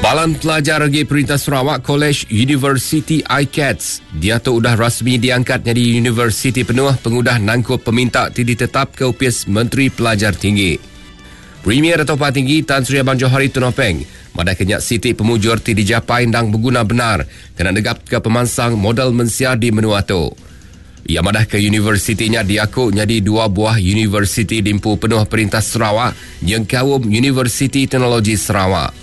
Palan Pelajar Agi Perintah Sarawak Kolej Universiti ICATS diatu udah rasmi diangkat nyadi universiti penuh pengudah nangkup peminta ti ditetapka Opis Menteri Pelajar Tinggi. Premier Datuk Patinggi Tan Sri Abang Johari Tun Openg madahka nya siti pemujur ti dijapai endang beguna bendar kena negapka pemansang modal mensia di menua tu. Iya madahka universiti nya diaku nyadi dua buah universiti diempu penuh Perintah Sarawak nyengkaum Universiti Teknologi Sarawak.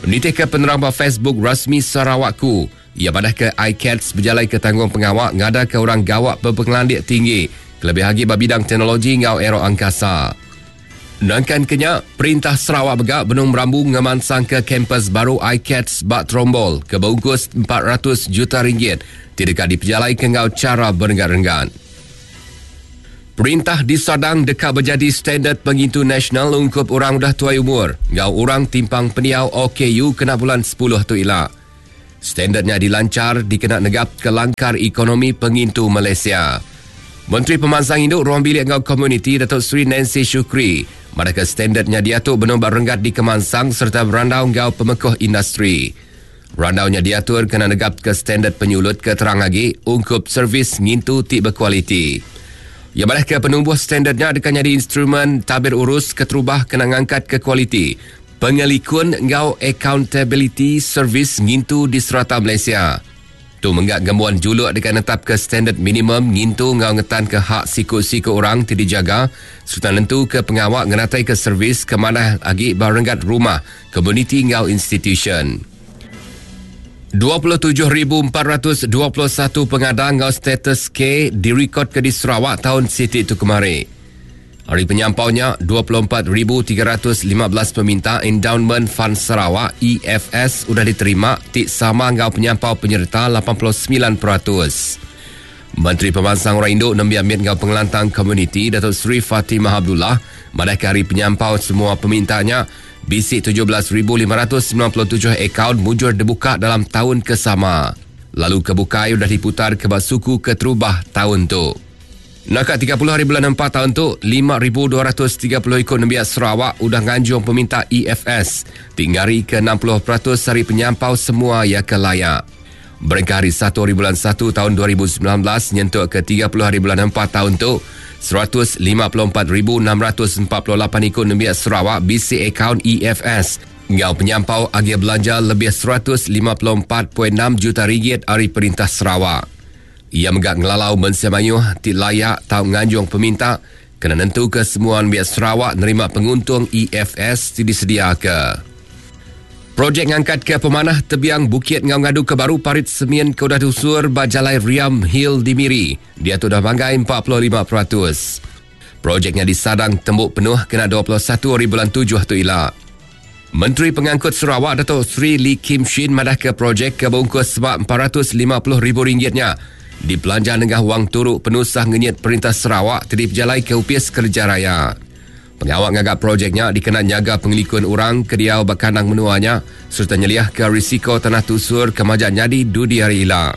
Nitihka penerang ba Facebook rasmi Sarawakku, iya madahka ICATS bejalaika tanggungpengawa ngadaka orang gawa bepengelandik tinggi kelebih agi ba bidang teknologi enggau aeroangkasa. Nangkan ke nya, Perintah Sarawak mega benung merambu ngemansangka kampus baru ICATS ba Trombol ke beungkus 400 juta ringgit ti deka dipejalaika enggau chara berenggat-renggat. Perintah disadang deka bejadi standard pengintu nasional ungkup orang udah tuai umur enggau orang timpang pendiau OKU kena bulan sepuluh tu ila. Standard nya dilanchar dikena negapka langkar ekonomi pengintu Malaysia. Menteri Pemansang Indu, Ruang Bilik enggau Komuniti Datuk Seri Nancy Shukri madahka standard nya diatu benung ba renggat dikemansang sereta berandau enggau pemekuh industri. Randau nya diatur kena negapka standard penyulut ke terang agi ungkup servis ngintu ti bekualiti. Iya madahka penumbuh standard nya deka nyadi instrumen tabir urus keterubah kena ngangkatka kualiti Pengelikun enggau akauntabiliti servis ngintu di serata Malaysia. Tu mengga ngembuan juluk deka netapka standard minimum ngintu enggau ngetanka hak siku-siku orang ti dijaga sereta nentuka pengawa ngenataika servis ke manah agi ba renggat rumah, komuniti enggau institusyen. 27,421 pengada enggau status K dirikodka di Sarawak taun siti tu kemari. Ari penyampau nya, 24,315 peminta Endowment Fund Sarawak, EFS, udah diterima ti sama enggau penyampau penyereta 89%. Menteri Pemansang Orang Indu, Nembiak Mit enggau Pengelantang Komuniti, Datuk Seri Fatimah Abdullah madahka ari penyampau semua peminta nya, bisi 17,597 akaun mujur dibuka dalam taun ke sama, lalu ke bukai udah diputarka ba suku keterubah taun tu. Naka 30 hari bulan empat taun tu, 5,230 iku nembiak Sarawak udah nganjung peminta EFS ti ngarika 60% ari penyampau semua iya ke layak. Berengkah hari satu hari bulan satu taun 2019 nyentuk ke 30 hari bulan empat taun tu, 154,648 iku nembiak Sarawak bisi akaun EFS enggau penyampau agih belanja lebih 154.6 juta ringgit ari Perintah Sarawak. Iya mega ngelalau mensia mayuh ti layak tau nganjung peminta kena nentuka semua nembiak Sarawak nerima penguntung EFS ti disediaka. Projek ngangkatka pemanah tebiang bukit enggau ngaduka baru parit semin ke udah diusur ba Jalai Riam Hill di Miri diatu udah manggai 45%. Projek nya disadang tembu penuh kena 21 hari bulan tujuh tu ila. Menteri Pengangkut Sarawak Datuk Seri Lee Kim Shin madahka projek ke beungkus seba RM450,000 nya dipelanja nengah wang turu penusah ngenyit Perintah Sarawak ti dipejalaika Opis Kereja Raya. Pengawa ngaga projek nya dikena nyaga pengelikun orang ke diau ba kandang menua nya sereta nyeliahka risiko tanah tusur ke majak nyadi dudi hari ila.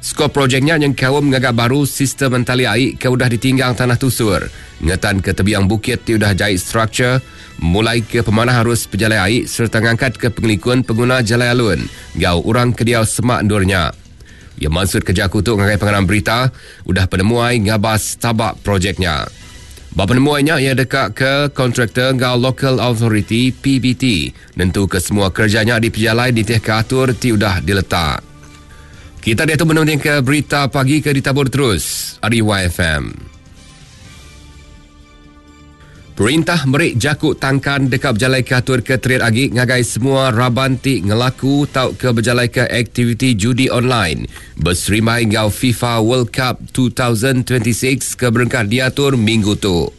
Skop projek nya nyengkaum ngaga baru sistem entali ai ke udah ditinggang tanah tusur, ngetanka tebiang bukit ti udah jai struktur, mulaika pemanah arus pejalai ai sereta ngangkatka pengelikun penguna jalai alun enggau orang ke diau semak endur nya. Iya mansutka jaku tu ngagai pengarang berita udah penemuai ngabas taba projek nya. Ba penemuai nya iya deka ke kontraktor enggau Local Authority, PBT, nentuka semua kereja nya dipejalai nitihka atur ti udah diletak. Kita diatu menundingka berita pagi ke ditabur terus ari YFM. Perintah meri jaku tangkan deka bejalaika atur ke terit agi ngagai semua raban ti ngelaku tauka bejalaika aktiviti judi online beserimbai enggau FIFA World Cup 2026 ke berengkah diatur minggu tu.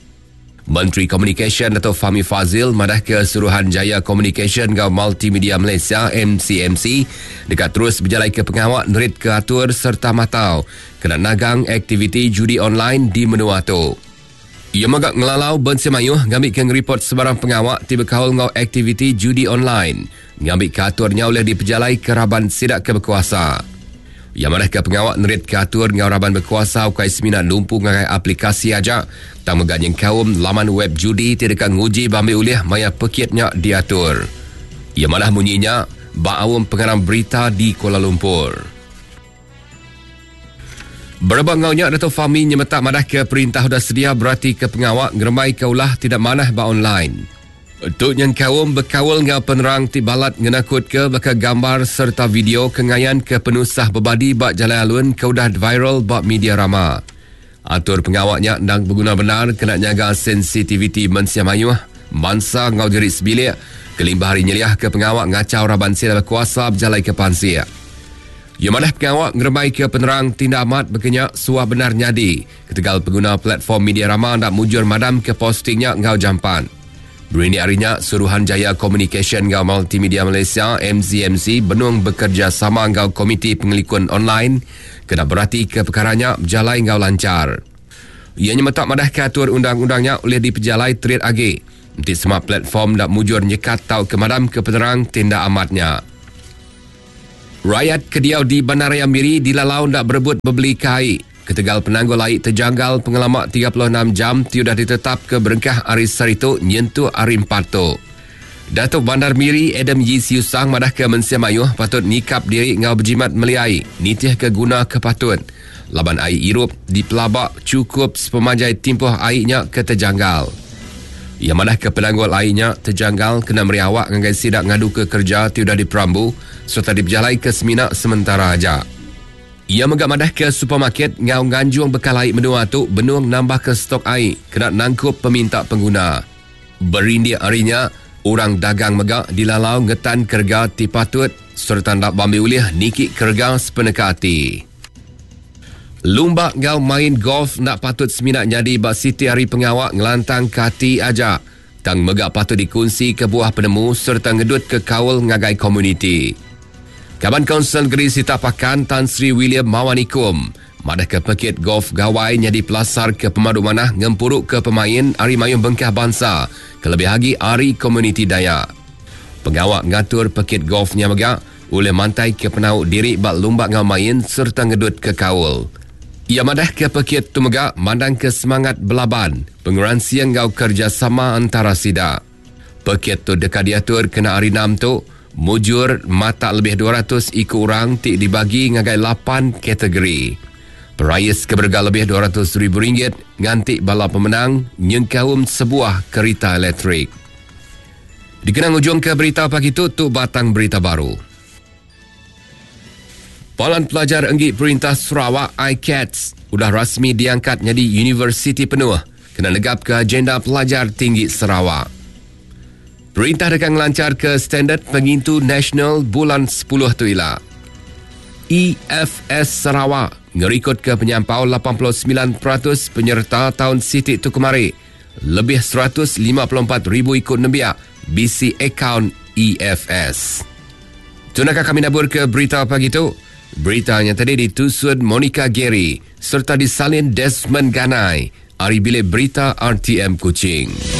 Menteri Komunikasyen Datuk Fahmi Fadzil madahka Suruhanjaya Komunikasyen enggau Multimedia Malaysia, MCMC, deka terus bejalaika pengawa neritka atur sereta matau kena nagang aktiviti judi online di menua tu. Iya mega ngelalau mensia mayuh ngambika ngeripot sebarang pengawa ti bekaul enggau aktiviti judi online ngambika atur nya ulih dipejalaika raban sida ke bekuasa. Iya madahka pengawa neritka atur enggau raban bekuasa ukai semina numpu ngagai aplikasi aja tang mega nyengkaum laman web judi ti deka nguji bambi ulih maya pekit nya diatur. Iya madah munyi nya ba aum pengarang berita di Kuala Lumpur. Berebak enggau nya, Datuk Fahmi nyemetak madahka perintah udah sedia beratika pengawa ngerembaika ulah ti enda manah ba online. Tu nyengkaum bekaul enggau penerang ti balat ngenakutka baka gambar sereta video ke ngayanka penusah bebadi ba jalai alun ke udah viral ba media rama. Atur pengawa nya endang beguna bendar kena nyaga sensitiviti mensia mayuh, mansa enggau diri sebilik kelimpah ari nyeliahka pengawa ngachau raban sida bekuasa bejalaika pansik. Iya madah pengawa ngerembaika penerang ti enda amat baka nya suah bendar nyadi ketegal penguna platform media rama enda mujur madamka posting nya enggau jampat. Berindik ari nya, Suruhanjaya Komunikasyen enggau Multimedia Malaysia, MCMC, benung bekerejasama enggau Komiti Pengelikun Online kena beratika pekara nya bejalai enggau lanchar. Iya nyemetak madahka atur undang-undang nya ulih dipejalai terit agi enti sema platform enda mujur nyekat tauka madamka penerang ti enda amat nya. Rayat ke diau di Bandaraya Miri dilalau enda berebut bebelika ai ketegal penanggul ai tejanggal pengelama 36 jam ti udah ditetapka berengkah ari sehari tu nyentuk hari Empat tu. Datuk Bandar Miri Adam Yii Siew Sang madahka mensia mayuh patut nyikap diri enggau bejimat meli ai nitihka guna ke patut laban ai irup dipelaba chukup sepemanjai timpuh ai nya ke tejanggal. Iya madahka penanggul ai nya tejanggal kena meri awak ngagai sida ngaduka kereja ti udah diperambu sereta dipejalaika semina sementara aja. Iya mega madahka supermarket enggau nganjung bekal ai menua tu benung nambahka stok ai kena nangkup peminta pengguna. Berindik ari nya, orang dagang mega dilalau ngetanka rega ti patut sereta enda bambi ulih niki ke rega sepeneka ati. Lumba enggau main golf enda patut semina nyadi ba siti ari pengawa ngelantangka ati aja, tang mega patut dikunsika buah penemu sereta ngedutka kaul ngagai komuniti. Kaban Kaunsil Negeri Sitak Pakan Tan Sri William Mawan Ikom madahka pekit golf Gawai nyadi pelasar ke pemadu manah ngempuruka pemain ari mayuh bengkah bansa kelebih agi ari komuniti Dayak. Pengawa ngatur pekit golf nya mega ulih mantaika penau diri ba lumba enggau main sereta ngedutka kaul. Iya madahka pekit tu mega mandangka semangat belaban, pengeransing enggau kerejasama entara sida. Pekit tu deka diatur kena Hari Enam tu, mujur matak lebih 200 iku orang ti dibagi ngagai lapan kategori. Perais ke berega lebih 200 ribu ringgit nganti bala pemenang nyengkaum sebuah kerita elektrik. Dikena ngujungka berita pagi tu, tu batang berita baru. Palan Pelajar Enggi Perintah Sarawak, ICATS, udah rasmi diangkat nyadi universiti penuh kena negapka agenda pelajar tinggi Sarawak. Perintah deka ngelancharka standard pengintu nasional bulan sepuluh tu ila. EFS Sarawak ngerikodka penyampau 89% penyereta taun siti tu kemari. Lebih 154,000 iku nembiak bisi akaun EFS. Tu naka kami nabur ke berita pagi tu. Berita nya tadi ditusun Monica Gary serta disalin Desmond Ganai ari Bilik Berita RTM Kuching.